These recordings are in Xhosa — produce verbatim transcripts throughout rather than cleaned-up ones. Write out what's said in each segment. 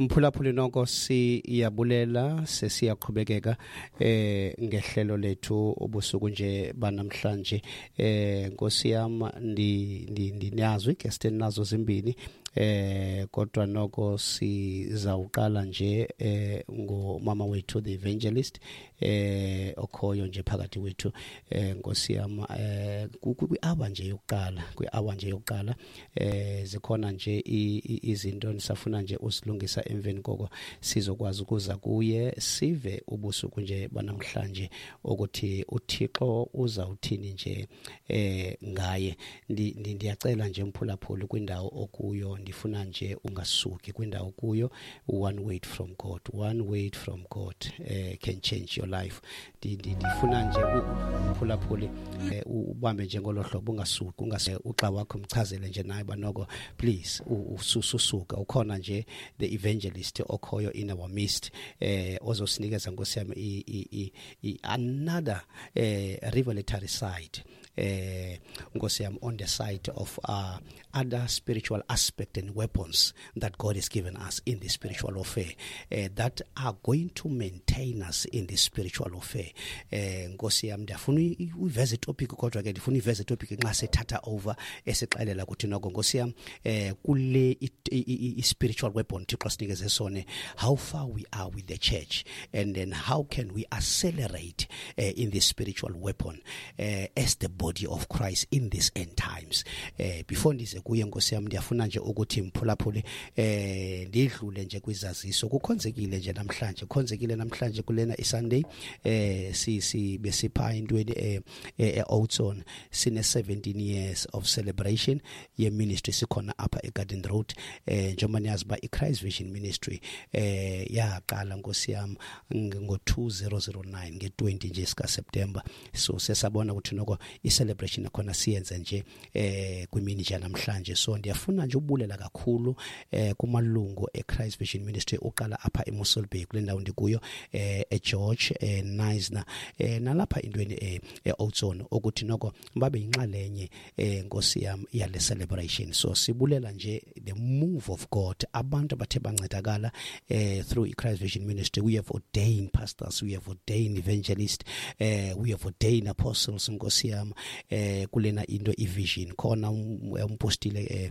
Mphulaphuli, noko siyabulela, sesiyaqhubekeka eh ngehlelo lethu ubusuku nje banamhlanje. eh Nkosi yam, ndi ndinazo iguest nazo zimbini, eh kodwa noko sizawuqala nje eh ngomama wethu, the evangelist, eh okhoyo nje phakathi kwethu. eh Nkosi yam, eh kwi-hour nje yokuqala kwi-hour nje yokuqala eh zikhona nje izinto nisafuna nje usilungisa. Emveni koko sizokwazi ukuza kuye, sive ubusuku nje banamhlanje ukuthi uThixo uzawuthini nje eh ngaye. Ndiyacela nje, mphulaphuli, kwindawo okuyo, ndifuna nje ungasuki kwindawo kuyo. One word from God, one word from God eh can change your life. Ndifuna nje, mphulaphuli, ubambe nje ngolo hlobo, ungasuki, ungase uxa wakho mchazele nje naye banoko, please ususuka. Ukhona nje the evangelist okhoyo in our midst, eh ozosinikeza, Nkosi yami, i another eh revelatory side, eh Nkosi yami, on the side of uh, other spiritual aspect and weapons that God has given us in the spiritual warfare uh, that are going to maintain us in the spiritual warfare. eh Nkosi yami, ndiyafuna uyiveze topic, kodwa ke ndifuna iveze topic nxa sethatha over, esixelela ukuthi noko, Nkosi yami, eh kule i spiritual weapon Thixo sinikeze sone, how far we are with the church and then how can we accelerate uh, in this spiritual weapon uh, as the body of Christ in this end times. eh before ndize kuye, Nkosi yami, ndiyafuna nje ukuthi, mphulaphuli, eh ndidlule nje kwizaziso. Kukhonzekile nje namhlanje, kukhonzekile namhlanje kulena iSunday. eh si si besipha intweni eh e-Oudtshoorn. Sine seventeen years of celebration ye ministry sikhona apha eGarden Road. eh njengoba niyazi ba iChrist Vision Ministry eh yaqala, Nkosi yami, ngo-two thousand nine, nge-twenty nje sika September. So sesabona ukuthi noko i-celebration khona siyenze nje eh kwimini nje namhlanje. So ndiyafuna nje ubulela kakhulu eh kumalungu eChrist Vision Ministry, uqala apha eMossel Bay kule ndawo ndikuyo, eh eGeorge, eh Knysna, eh nalapha intweni eh eOudtshoorn, ukuthi noko babe yinxalenye, eh Nkosi yami, yale celebration. So sibulela nje the move of God, abantu abathe bancedakala eh through iChrist Vision Ministry. We have ordained pastors, we have ordained evangelists, eh we have ordained apostles, Nkosi yami, eh kulena into ivision khona umpostile eh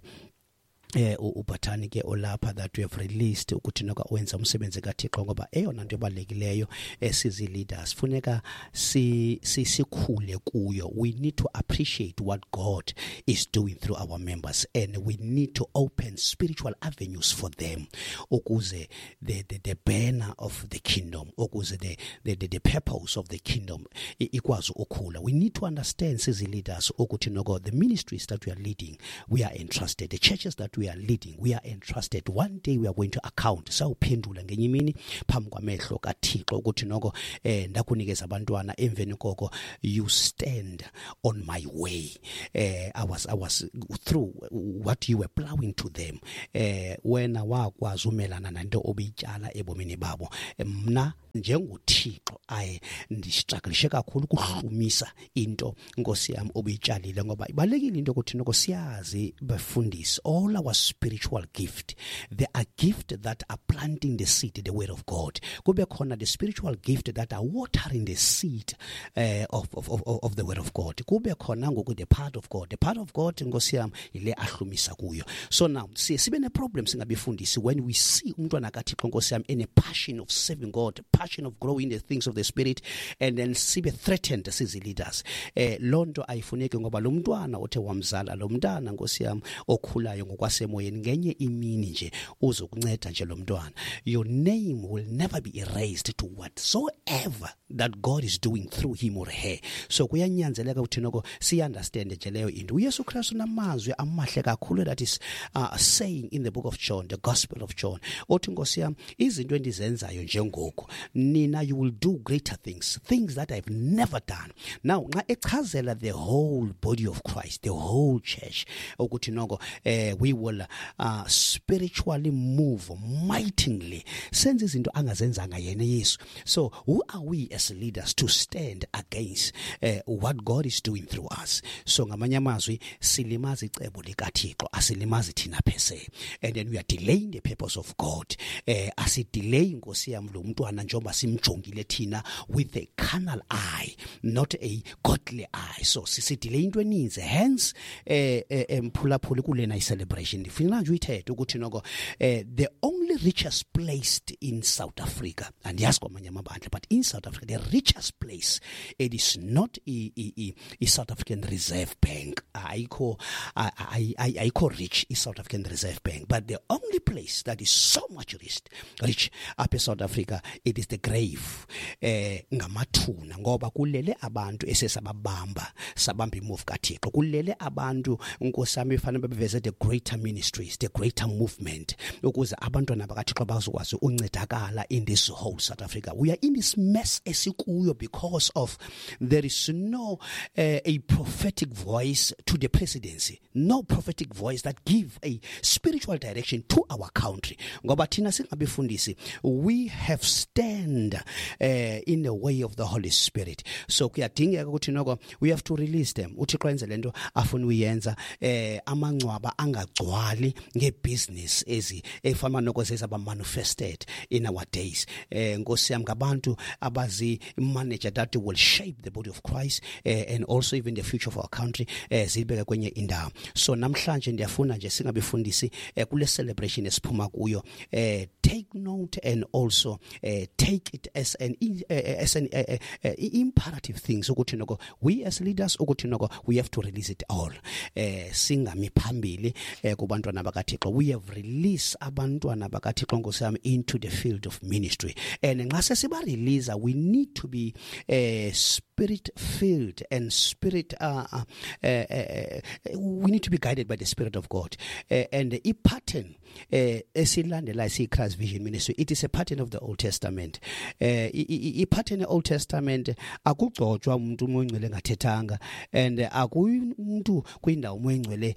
eh uBathani ke olapha that we have released ukuthi noka wenza umsebenzi kaThixo, ngoba eyona nto ebalulekileyo esizi leaders funeka si sikhule kuyo, we need to appreciate what God is doing through our members and we need to open spiritual avenues for them ukuze the the, the banner of the kingdom, ukuze the the the, the purpose of the kingdom ikwazi ukukhula. We need to understand sizi leaders ukuthi noko the ministries that we are leading, we are entrusted. The churches that we are leading, we are entrusted. One day we are going to account, sawuphendula ngenye imini phambi kwamehlo kaThixo ukuthi noko eh ndakunikeza abantwana, emveni koko you stand on my way. eh I was I was through what you were plowing to them. eh wena wakwazi umelana nanto obiyityala ebomini babo. Mna njengoThixo aye ndistrugglishe kakhulu ukuhlumisa into, Nkosi yami, obuyitshalile, ngoba ibalekile into ukuthi noko siyazi befundisi, all our spiritual gift, there are gift that are planting the seed, the word of God, kube khona the spiritual gift that are watering the seed uh, of, of, of, of the word of God, kube khona ngoku the part of God the part of God, Nkosi yami, ile ahlumisa kuyo. So now siye sibe ne problem singabefundisi when we see umntwana kaThixo, Nkosi yami, in a passion of serving God, passion of growing the things of the spirit, and then sibe threatened sizi leaders. eh lonto ayifuneki, ngoba lo mntwana othe wamzala, lo mntana, Nkosi yami, okhulayo ngokwasemoyeni, ngenye imini nje uzokunceda nje lo mntwana. Your name will never be erased to whatsoever that God is doing through him or her. So kuyanyanzeleka ukuthi noko siya-understand nje leyo into. uYesu Kristu namazwi amahle kakhulu that is uh, saying in the book of John, the Gospel of John, othi, Nkosi yami, izinto endizenzayo njengoku, nina you will do greater things, things that I've never done. Now nxa echazela the whole body of Christ, the whole church, ukuthi noko eh we will will uh, spiritually move mightily, senze izinto angazenzanga yena Yesu. So who are we as leaders to stand against uh, what God is doing through us? So ngamanye amazwi silimaza icebo likaThixo, asilimazi thina phese, and then we are delaying the purpose of God. Eh asidelay Nkosi yami lo mntwana njengoba simjongile thina with a carnal eye, not a godly eye. So sisidelay into eninzi. Hence eh emphulaphuli kulena i-celebration ndifuna nje uyithethe ukuthi noko eh the only richest place in South Africa, andiyazi kwamanye amabandla, but in South Africa the richest place, it is not i, i, i South African Reserve Bank. Ayikho ayikho rich i South African Reserve Bank, but the only place that is so much rich rich apha eSouth Africa, it is the grave, eh ngamathuna, ngoba kulele abantu esesababamba sabamba imove kaThixo, kulele abantu Nkosi yami fanele beveze the greater ministries, the greater movement, ukuze abantwana bakaThixo bazokwazi uncedakala in this whole South Africa. We are in this mess esikuyo because of there is no uh, a prophetic voice to the presidency, no prophetic voice that give a spiritual direction to our country. Ngoba thina singabefundisi, we have stand uh, in the way of the Holy Spirit. So kuyadingeka ukuthi noko we have to release them. uThixo enze lento afuna uyenza, eh amangcwaba angagcwali ngebusiness ezi efana noko zezaba manifested in our days. Eh Nkosi yami ngabantu abazi manager that will shape the body of Christ eh, and also even the future of our country, eh zibeke kwenye indawo. So namhlanje ndiyafuna nje singabefundisi eh, kule celebration esiphuma kuyo, eh take note and also eh, take it as an uh, as an uh, uh, imperative things ukuthi noko we as leaders ukuthi noko we have to release it all. Eh singami phambili eh, kubantwana bakaThixo. We have released abantwana bakaThixo Nkosi yami into the field of ministry, and nxa sesiba release we need to be eh, spirit filled and spirit uh, uh, uh, uh, we need to be guided by the Spirit of God. Uh, and the pattern esilandela uh, si Christ Vision Ministry, it is a pattern of the Old Testament. Eh uh, i pattern Old Testament akugcotshwa umuntu umongcwele ngathethanga, and akumuntu kwindawo umongcwele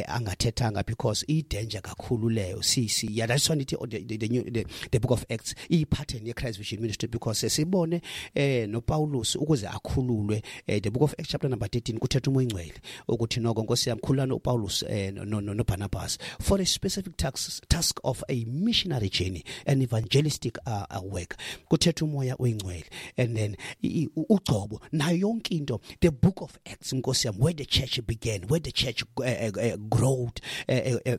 angathethanga, because i danger kakhulu leyo. Si si yeah, that's why the the, the, the book of Acts i pattern ye Christ Vision Ministry, because sibone eh no Paulus ukuze akhululwe, eh, the book of Acts chapter number thirteen kuthetha umongcwele ukuthi noko Nkosi yami khululana uPaulus eh, no no no Barnabas for a specific task, task of a missionary journey, an evangelistic uh, uh, work. Kuthetha umoya oyingcwele, and then ugcobo nayo yonke into. The book of Acts Nkosi yami, where the church began, where the church uh, uh, growed, uh, uh, uh,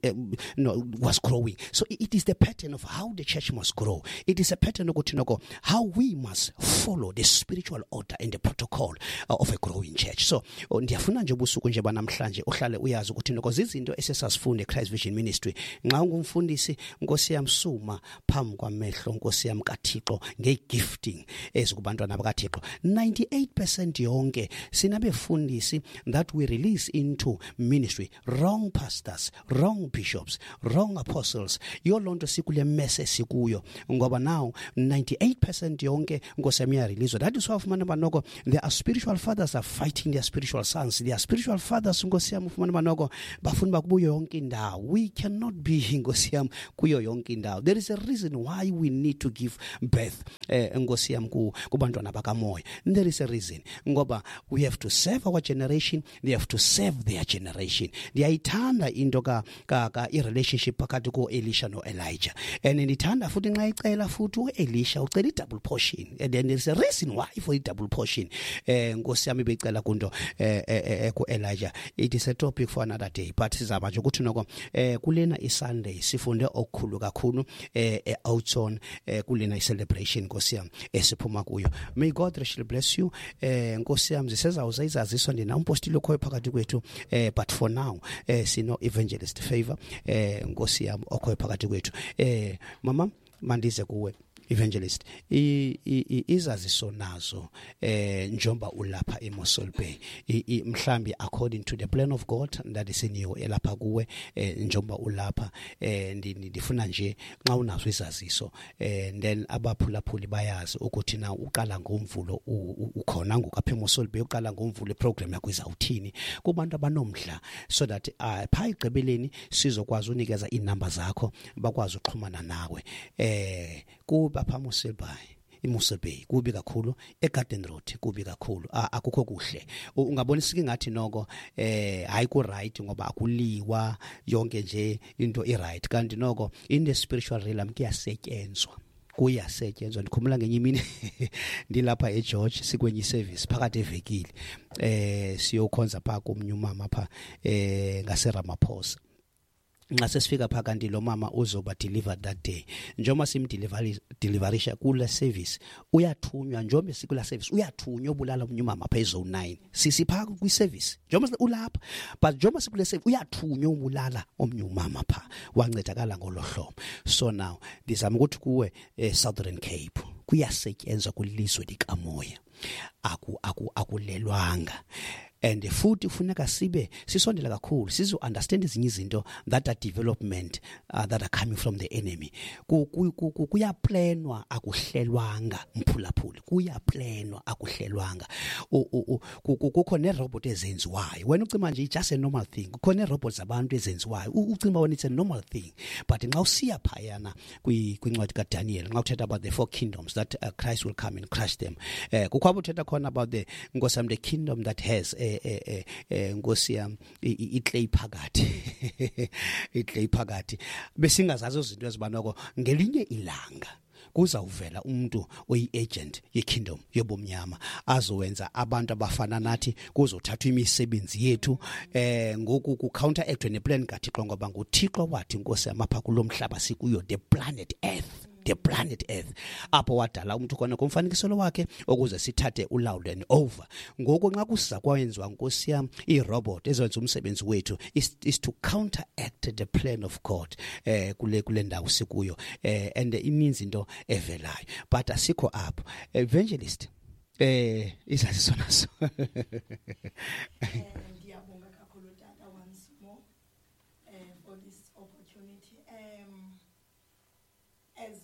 uh, no, was growing. So it is the pattern of how the church must grow. It is a pattern ukuthi noko how we must follow the spiritual order and the protocol uh, of a growing church. So ndiyafuna nje ubusuku nje banamhlanje uhlale uyazi ukuthi noko izinto esesasifunda eChrist Vision Ministry. Nxa ungumfundisi Nkosi yami suma phambi kwamehlo Nkosi yami kaThixo ngegifting ezikubantwana bakaThixo. ninety-eight percent yonke sinabefundisi that we release into ministry, wrong pastors, wrong bishops, wrong apostles. Yolonto sikule mess esikuyo ngoba now ninety-eight percent yonke Nkosi yami yarelease. That is why ufumana banoko there are spiritual fathers are fighting their spiritual sons. Their spiritual fathers Nkosi yami ufumana banoko bafuna bakubuyo yonke indawo. We cannot be Nkosi yami kuyo yonke indawo. There is a reason why we need to give birth eh Nkosi yami kubantwana bakamoya. There is a reason ngoba we have to serve our generation, they have to serve their generation. Ndiyayithanda into ka ka, ka i relationship phakathi ko Elisha no Elijah, and ndithanda futhi nxa icela futhi uElisha ucela i double portion, and then there is a reason why for i double portion eh Nkosi yami becela kunto eh, eh, ku Elijah. It is a topic for another day, but sizaba nje ukuthi noko eh kulena iSunday sifunde okukhulu kakhulu eh outzone eh kulena i-celebration Nkosi yami esiphuma kuyo. May God richly bless you. Eh Nkosi yami sisezawuza izaziso ndina umpostile okhoyo phakathi kwethu, eh but for now eh sino evangelist favor eh Nkosi yami okhoyo phakathi kwethu. Eh mama mandize kuwe Evangelist, i- i- i- izaziso nazo eh njomba ulapha eMossel Bay, I- i- mhlambi according to the plan of God that is in you elapha kuwe, eh njomba ulapha, eh ndi- ndi- ndifuna nje xa unazo izaziso, eh then abaphulaphuli bayazi ukuthi na uqala ngomvulo u- u- ukhona ngoku apha eMossel Bay, uqala ngomvulo iprogram yakho izawuthini kubantu abanomdla, so that uh, phaa egqibeleni sizokwazi unikeza iinamba zakho bakwazi uxhumana nawe. Eh kuba phaa Mossel Bay, iMossel Bay kubi kakhulu, eGarden Road kubi kakhulu, A- akukho kuhle. U- ungabona ingathi noko eh hayi ku right ngoba akuliwa, yonke nje into i right, kanti noko in the spiritual realm kuyasetyenzwa, kuyasetyenzwa. Ndikhumbula ngenye imini ndilapha eGeorge sikwenye iservice phakathi evekile, eh siyokhonza pha komnye umama pha eh ngase Ramaphosa. Nxa sesifika pha kanti lo mama uzoba delivered that day, njengoba simdeliverisha kule service uyathunywa, njengoba sikula service uyathunywa obulala omnye umama pha ezone nine, sisipha kwi service njengoba ulapha, but njengoba sikule service uyathunywa ubulala omnye umama pha, wancedakala ngolo hlobo. So now ndizama ukuthi kuwe, eh, Southern Cape kuyasetyenzwa kwilizwe likamoya, aku aku akulelwanga, and futhi kufuneka sibe sisondela kakhulu sizo understand ezinye izinto that are development uh, that are coming from the enemy. Kuyaplanwa, akuhlelwanga mphulaphuli, kuyaplanwa, akuhlelwanga. Kukho nerobot ezenziwayo, wena ucima nje just a normal thing, kukho nerobot zabantu ezenziwayo, ucima wena it's a normal thing, but nxa usiya phayana kwincwadi kaDaniel, nxa uthetha about the four kingdoms that uh, Christ will come and crush them, eh kukho apho uthetha khona about the Nkosi yam, the kingdom that has eh eh eh Nkosi yam iclay phakathi, iclay phakathi, besingazazi izinto ezibanoko. Ngelinye ilanga kuzawuvela umuntu oyi-agent ye-kingdom yobumnyama azowenza abantu abafana nathi, kuzothathwa imisebenzi yethu, eh ngoku ku-counteract neplan kaThixo, ngoba nguThixo wathi Nkosi yam apha kulomhlaba sikuyo, the planet Earth, the planet Earth, apho wadala umuntu khona ngomfanekiso wakhe ukuze sithathe ulawulo and over. Ngoku nxa kusiza kwayenziwa Nkosi yam iirobot ezenza umsebenzi wethu is, is to counteract the plan of God eh kule kule ndawo sikuyo, eh and ininzi into evelayo, but asikho apho. Evangelist, eh izaziso naso. Ndiyabonga kakhulu tata once more eh for this opportunity. Um as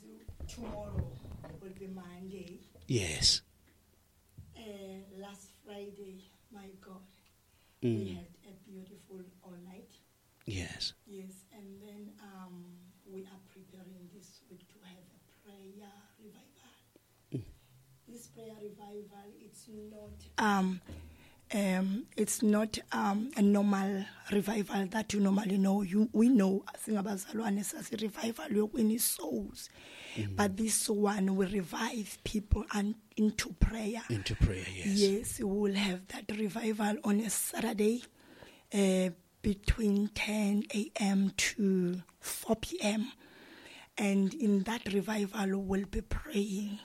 tomorrow will be Monday. Yes. Uh, last Friday, my God, mm. we had a beautiful all night. Yes. Yes, and then um, we are preparing this week to have a prayer revival. Mm. This prayer revival, it's not um, um, it's not um, a normal revival that you normally know. You we know singabazalwane sasi revival yokwini souls, mm. but this one will revive people and into prayer. Into prayer, yes. Yes, we will have that revival on a Saturday, uh, between ten a.m. to four p.m. And in that revival, we'll be praying.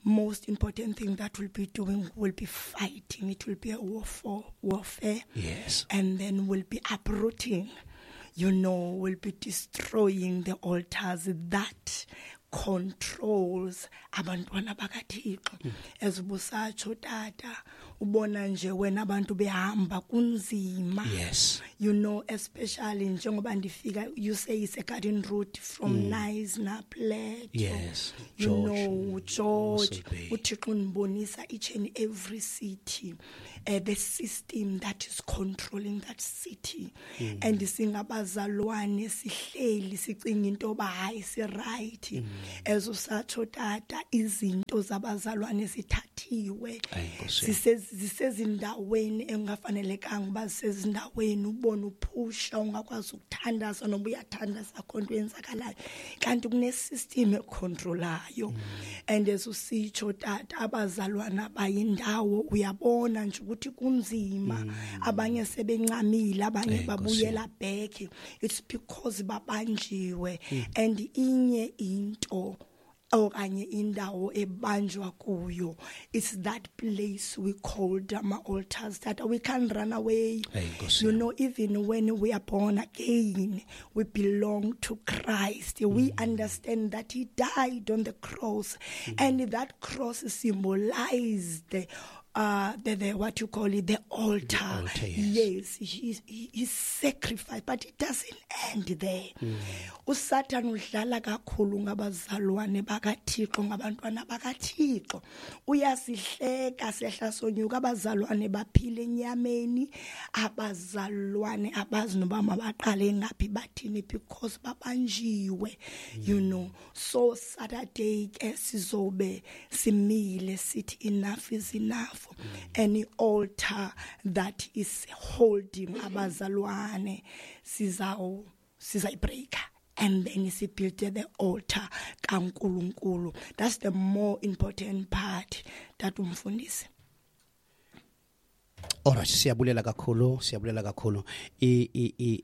Most important thing that we'll be doing will be fighting. It will be a warfare, warfare. Yes. And then we'll be uprooting, you know, we'll be destroying the altars that controls abantwana bakaThixo. Ezibusatsho tata, ubona nje wena abantu behamba kunzima. Yes. You know, especially njengoba ndifika, you say it's a garden route from mm. Nice Plateau. Yes. You George, know, George, Mossel Bay. uThixo unibonisa each and every city, uh, the system that is controlling that city. Mm. And singabazalwane sihleli sicinga into yoba hayi si right. Mm. Ezosatsho tata, izinto zabazalwane zithathiwe, Ayi, Nkosi yam. Zise- zisezindaweni engafanelekanga uba zisezindaweni, ubone uphusha ungakwazi ukuthandaza noba uyathandaza akho nto yenzakalayo, kanti kunesystem econtrolayo. And esusitsho tata, abazalwana bayindawo uyabona nje ukuthi kunzima, abanye sebencamile, abanye Ayi, Nkosi yam. babuyela back. It's because babanjiwe. And inye into okanye indawo ebanjwa kuyo. It's that place we called ama altars that we can't run away. Hey, Nkosi. You know, even when we are born again, we belong to Christ. We mm. understand that he died on the cross, mm. and that cross symbolized the, uh, the, the what you call it, the altar. The altar, yes. Yes, he, he, he sacrificed, but it doesn't end there. Mm. USatan udlala kakhulu ngabazalwane bakaThixo, ngabantwana bakaThixo. Uyasihleka sehla sonyuka, abazalwane baphile enyameni, abazalwane abazi noba mabaqale ngaphi bathini because babanjiwe, mm. you know. So Saturday ke sizobe simile sithi enough is enough. Mm. Any altar that is holding abazalwane sizaw sizayibreaker, and then sibuild the altar kaNkulunkulu. That's the more important part that umfundisi. Alright, siyabulela kakhulu, siyabulela kakhulu. I i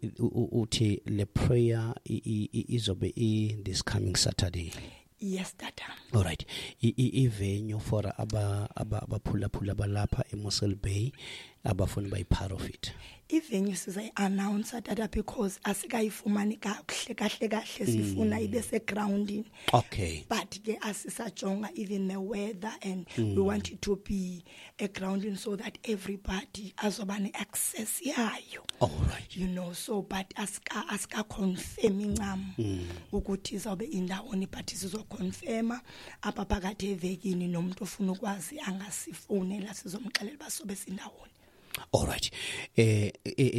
uthi le prayer izobe i this coming Saturday. Yes, tata. All right. I venue for aba aba abaphulaphula balapha eMossel Bay abafuna bayi part of it. I-venue sizayi-announce tata because asikayifumani kakuhle kahle kahle, sifuna ibe segroundini. Okay. But ke asisajonga even the weather, and mm. we want it to be a grounding so that everybody azoba ne-access yayo. All right. You know, so but asika asika confirm incam ukuthi izawube indawoni, but sizoconfirma apha phakathi evekini, nomuntu ofuna ukwazi angasifonela sizomxelela basobe sindawoni. All right. Eh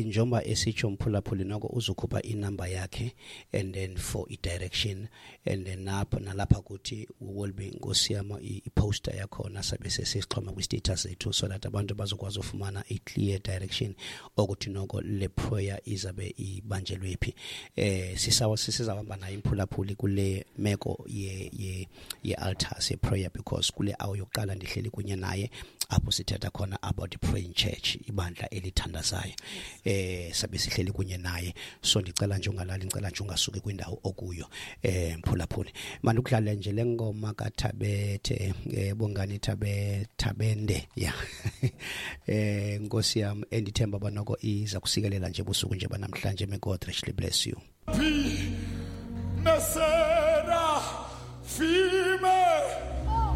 njengoba esitsho mphulaphuli noko uzokhupha inamba yakhe and then for i direction, and then napha nalapha kuthi will be Nkosiyama i poster yakhona sabe sesixhoma kwi status ethu so that abantu bazokwazi ufumana i clear direction ukuthi noko le prayer izabe ibanjelwe phi. Eh sisawa sisizahamba nayo imphulaphuli kule meko ye ye ye altars ye prayer, because kule hour yokuqala ndihleli kunye naye apho sithetha khona about the praying church, ibandla elithandazayo. Eh sabe sihleli kunye naye, so ndicela nje ungalali, ngicela nje ungasuki kwindawo okuyo. Eh mphulaphuli, manje ukudlala nje lengoma kaThabethe, eh Bongani Thabe Thabende, yeah. Eh Nkosi yami, endithemba banoko iza kusikelela nje busuku nje banamhlanje. May God richly bless you. Mesera fi